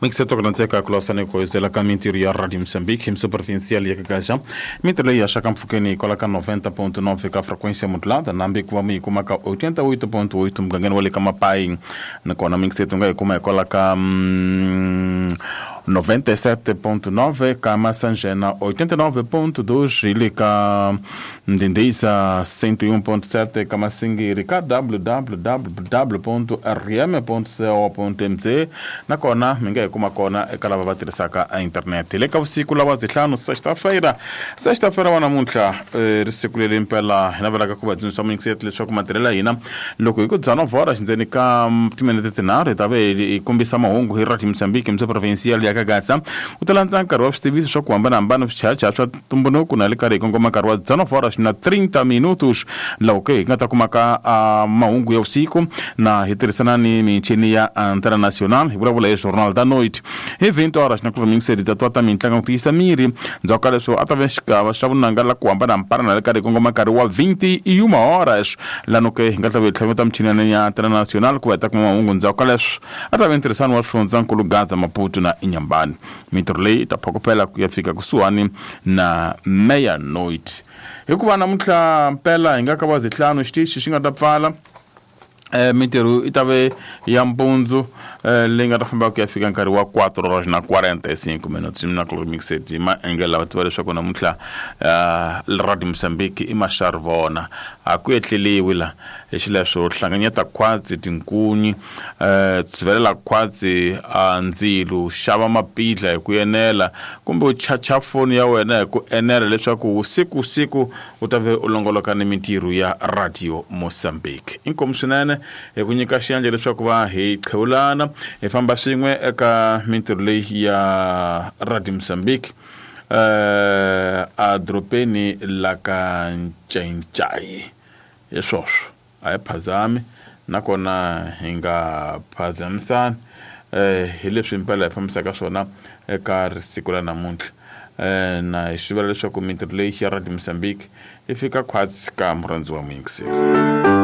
Mixeto ku landzeka ku lawusana ku hoyizela ka mintirho ya Radio Mozambique hi provincial ya Kagaxa. Mintirho leyi haxaka mpfhukeni kwala ka 90.9 ka frequência modulada nambi ku va mi yi kuma ka 88.8 mugangeni wa le ka Mapai. Nakona mixeto nga yi kuma hikwala ka 97.9 ka Masanjena, 89.2 hi le ka Ndindisa, 101.7 ka Masingiri, ka www.rm.co.mz. Nakona mi nga yi kuma kona eka lava va tirhisaka internet. Hi le ka vusiku lawa zihlanu sexta-feira, sexta-feira wa namuntlha, ri siku leri impela hi navelaka ku va tsundzuxa muyingiseri leswaku matirhelo ya hina loko hi ku dzana vhora xindzeni ka timinete tinharhu hi ta ve hi kombisa mahungu hi Radio Mozambique mse provincial ya Kagaza. U ta landza nkarhi wa switiviso swa ku hambanahambana, swichayachaya swa ntumbuluko, na le karhi hi kongoma nkarhi wa dzana vhora xi na 30 minutos laha ke hi nga ta kumaka mahungu ya vusiku na hi tirhisana ni michini ya Antena Nacional hi vulavula hi Jornal da Noite. Hi 20 horas na ku miyingiseri ta twa ta mintlangu ku tiyisa miri. Ndzhaku ka leswo a ta ve xigava xa vunanga la ku hambanahambana na le karhi hi kongoma nkarhi wa 21 horas lano ke hi nga ta ve hi tlhaveta michini ya Antena Nacional ku va hi ta kuma mahungu. Ndzhaku ka leswo a ta ve ntirhisano wa swifundzankulu Gaza, Maputo na Inhambane. Mintirho leyi yi ta phokopela ku ya fika kusuhani na meia-noite. Hikuva namuntlha mpela hi nga ka va zihlanu xitichi xi nga ta pfala, mintirho yi ta ve ya mpundzu, leyi nga ta famba ku ya fika nkarhi wa 4 horas na 45 minutos. Mina ku mixed hi maengele lava tiva leswaku namuntlha Radio Mozambique i maxarivona, a ku etleliwi la. Hi xileswo hlanganyeta khwatsi tinkunyi, tshivelela khwatsi a ndzilu, xava mapidla hi ku enela kumbe u chacha foni ya wena hi ku enela leswaku siku siku u ta ve u longoloka ni mintirho ya Radio Mozambique. Inkomu swinene hi ku nyika xiyandla leswaku va hi qhewulana hi famba swin'we eka mintirho leyi ya Radio Mozambique, a doropeni la ka Ncayincai. Hi swoswo a hi phazami nakona hi nga phazamisani, hi leswi impela hi fambisaka swona eka siku ra namuntlha. Na hi swi vula leswaku mintirho leyi ya Radio Mozambique yi fika khwatsi ka murhandzi wa muyingiseri.